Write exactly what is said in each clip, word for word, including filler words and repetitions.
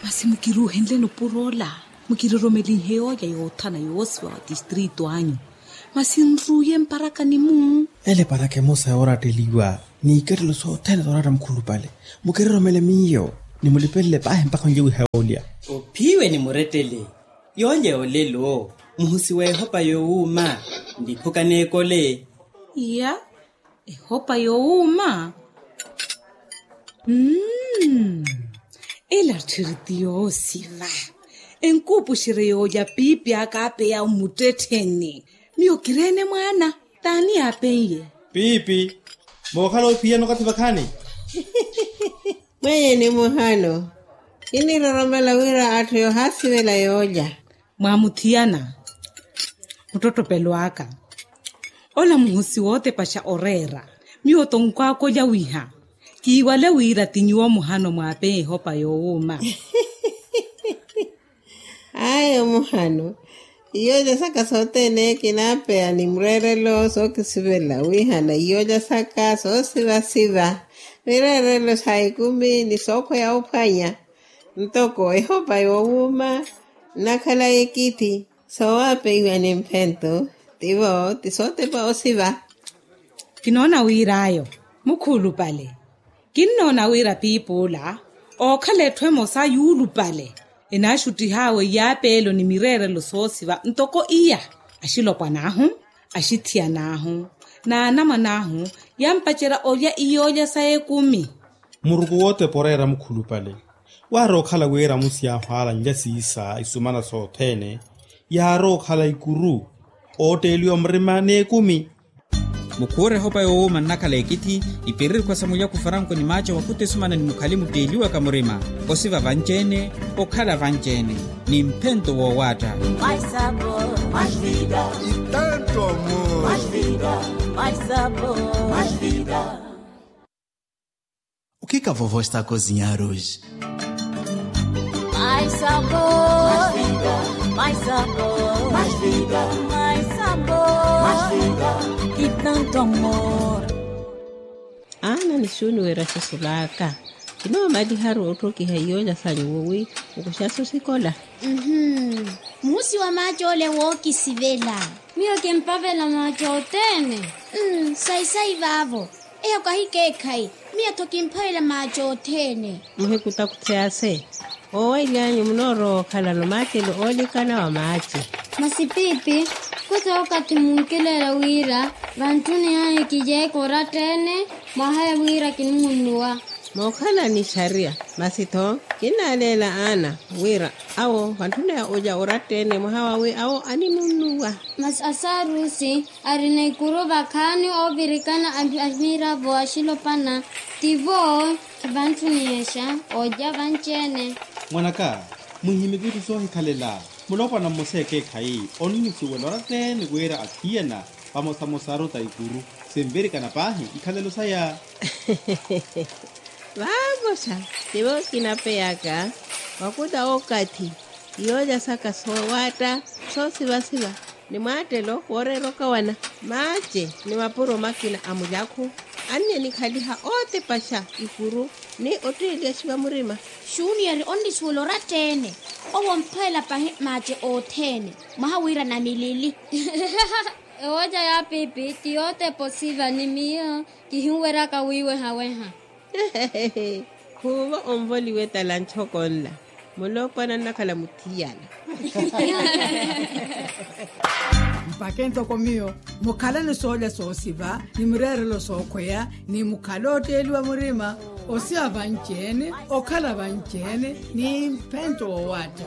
Masi mukiruuhenle nupuro ola, mukiroromelinhe yoolya yoothana yoosiwa wa tistrito anyu. Masi nruuye mparakani-mu. Ele paraka emosa yooratteliwa, n'ikettelo sothene sooratta mukhulupale. Mukiroromele miyo, ni mulipelele paahi mpakha onjewiha yoolya. Ophiwe ni murettele. Yoolya yoolelo muhusi w'ehopa yoowuuma. Ndiphuka n'ekole. Iya. Ehopa yoowuuma. Mmm. Ela tthiri ti yoosiva. Enkuupuxerye yoolya piipi aka aapeya mmuttettheni. Miyo kireene mwaana. T'ani yaapen'ye? Piipi. Mookhala ophiyana okathi vakhaani? Mwenye ni muhano. Kiniroromela wira atthu yoohaasivela yoolya. Mwaamuthiyana. Muttottopelo aka. Ola muhusi wootepaxa oreera. Miyo tonkwaakolya wiha. Kiiwale wira ti nyuwo muhano mwaapeya ehopa yoowuuma. Ayo muhano. Iyoolya saka sothene kinaapeya ni mureerelo sookisivela wihana iyoolya saka soosivasiva. Mireerelo sa ekumi ni sookhweya ophwanya. Ntoko ehopa yoowuuma nnakhala ekithi. Soowaapeiwa ni mphento. Tivo ti sootepa osiva. Kinoona wir'ayo mukhulupale. Kinnoona wira piipi ola ookhala etthu emosa yuulupale. Enaaxuttih'awe iyaapeelo ni mireerelo soosiva ntoko iya. Axilopwan'ahu, axithiyan'ahu, n'anamwan'ahu yaampacerya olya iyoolya sa ekumi. Muruku wootepa oreera mukhulupale. Waarowa okhala wira amusi ahwaala nlya siisa isumana sothene. Yaarowa okhala ikuru ootteeliwa murima n'ekumi. Mukhuure ehopa yoowuuma nnakhala ekithi. Ipiririkhwa sa mulyaku faranko ni maaca wakuta esumana ni mukhali mutteeliwaka murima. Osiva vanci-ene, okhala vanci-ene ni mphento woowaatta. O que que a vovó está a cozinhar hoje? Mais sabor, mais sabor, mais vida, mais sabor, mais vida, e tanto amor. Aana ni xuuni wira xisulaaka. Kinoomaliharu otthokiha iyoolya sa nyuwo wi mukuxaso sikola. Muhusi wa maaca ole wookisivela. Miyo kimpavela maaca othene. Sayi-sayi vaavo. Eyo kahi keekhayi. Miyo-tho kimpavela maaca othene. Muhikutakuthi ase. Oowaily'anyu munoorowa okhalano maacelo oolikana wa maaci. Masi piipi, khuta okathi munkileela wira vantthuni ahi kijeeka oratta-ene. Mwaha ya wira kinimunnuwa. Mookhala ni xariya. Masi-tho kinnaaleela aana wira awo vantthuni ya olya oratta-ene mwaha wawi awo animunnuwa. Masi asaarusi arina ikuru vakhaani oovirikana a miravo axilopana. Tivo kivantthuniyexa olya vanci-ene. Mwan'aka, muhihimike itthu soohikhalela. Mulopwana mmosa ekeekhayi onnusuwela oratta-ene wira athiyana vamosamosaru ta ikuru sinvirikana paahi ikhalelo saya. Vaamosa tivo kinapeyaka wakuta okathi iyoolya saka soowaatta soosivasiva ni mwaattelo wooreera okawana. Maace ni mapuro makina a mulyakhu annikhaliha ootepaxa ikuru ni otteeliyaxiwa murima. Xuniyeri onnisuwela oratta-ene. Owo omphweela pahi maace othene mwaha wira namilili. Ewoca ya pipi ti yootepa osiva ni miyo kihinweryaka wiiwehaweha. Khuuvo onvoliwe tala nchoko nla. Mulopwana nnakhala muthiyana. Mpakhe ntoko miyo mukhalani soolya soosiva ni mireerelo sookhweya ni mukhale ootteeliwa murima. Osiva vanci-ene okhala vanci-ene ni mphento woowaatta.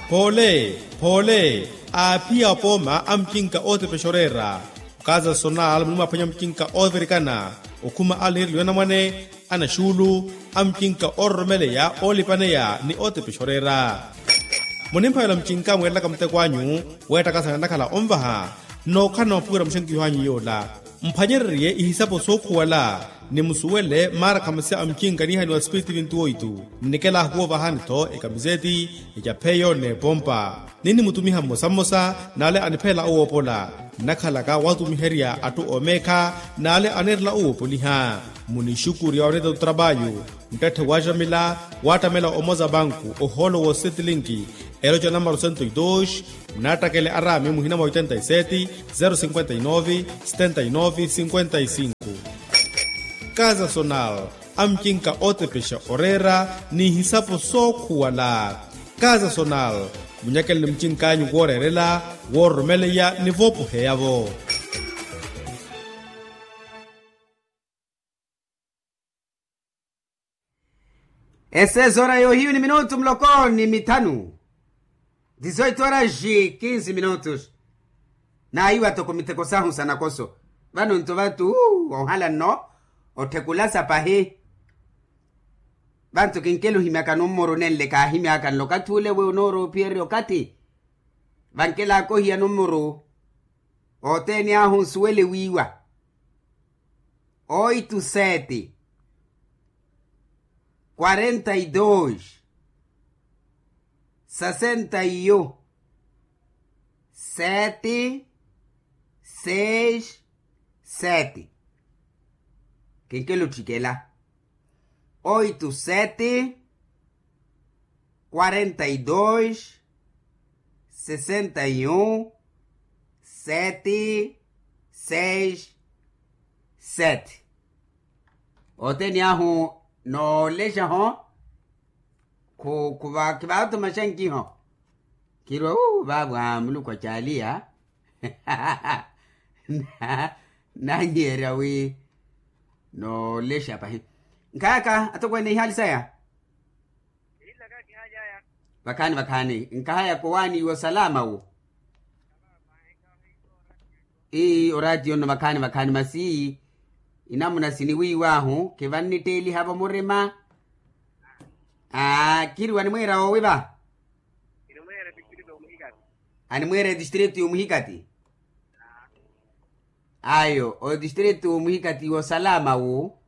Poole poole aaphiya apooma a mucinka ootepexa oreera. Okaza sonal munimwaphwanya mucinka oovirikana okhuma a lirilo ya namwane a naxuulu a mucinka oororomeleya oolipaneya ni ootepexa oreera. Munimphavela mucinka mweerelaka muteko anyu weettakasana nnakhala onvaha nnookhala na maphuwira muxenkiho anyu yoola. Mphwanyererye ihisapo sookhuwala, ni musuwele maara khamasi a mcinka niihaniwa spiriti vintu oitu. Nnikela ahuwovahani-tho ekamiseti, ecapheyo n'epompa. Ninnimutumiha mmosa mmosa n'ale aniphelela owoopola. Nnakhalaka watumiherya atthu oomeekha n'ale aneerela owoopoliha. Munixukurya oneeta otrapayu. Nttatthe waaxamila waattamela omoza panku ohoolo woosetlinki. Eloca namaro sento e dos. Nnattakele araami muhina mwa oitenta e seti, zero cinquenta e nove, setenta e nove cinquenta e cinco. Kaza sonal, amcinka ootepexa oreera n'ihisapo sookhuwala. Kaza sonal, munyakeleni mcinkanyu wooreerela, woororomeleya ni voopoheya-vo. Esezora yohiyu ni minutu muloko ni mithanu. Dizoito oraxi kinsi minutus. Naiwa toko miteko sahu sanakoso. Vano nto vatu ohala nno othekulasa pahi. Vantu kinkela ohimyaka nummuru nenle kaahimyaka nlo okathi ule we onooroopiyererya okathi. Vankela akohiya nummuru othene ahu nsuwele wiiwa. Oito sete, quarenta e dois, sessenta e um, sete seis sete. Kenkela otthikela. Oito sete, quarenta e dois, sessenta e um, sete seis sete. Othene ahu noolexa-ho. Khuva khivaatuma xankiho. Khirwa uu vaavo muluku acaaliya. Nanyiherya wi noolexa pahi. Nkhayaka atokweene ihaali saya. Vakhaani vakhaani nkahaya kowaani iwo salama wo. Ii oraatiyo nno vakhaani vakhaani masi inamuna siniwiiwaahu khivannitteeliha-vo murima. Aa khiriwa animweera woowi va? Animweera etistritu y'omuhikati. Ayo otistritu y'omuhikati woosalama wu.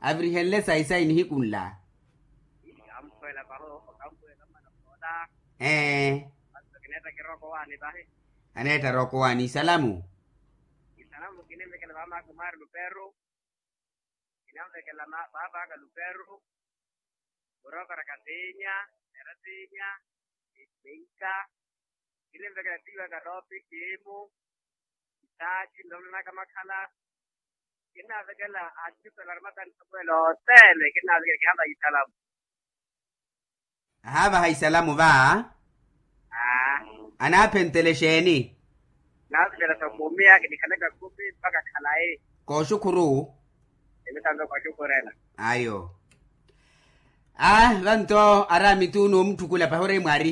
Avirihenle sayi sayi nihiku nla. Ee. Aneettara okowaani isalamu. Isalamu kinimvekela vamaaku maari luperu. Kinamvekela paapaka luperu. Murokora katiinya, eratiinya, minka. Kinimvekela tiiwaka toopi kiimu. Isaaki nloonanaka makhala. Kinavekela atitela arimatani samuwela othene kinavekela kihavaha isalamu. Ahavaha isalamu va. Anaaphenttele xeeni? Naaphenttele sa kumi akinikhale kakumi mpakha khalayi. Kooxukhuru. Emitanto kooxukhurela. Ayo. Aa vanto araami tuuno omutthukula pahore mwaari.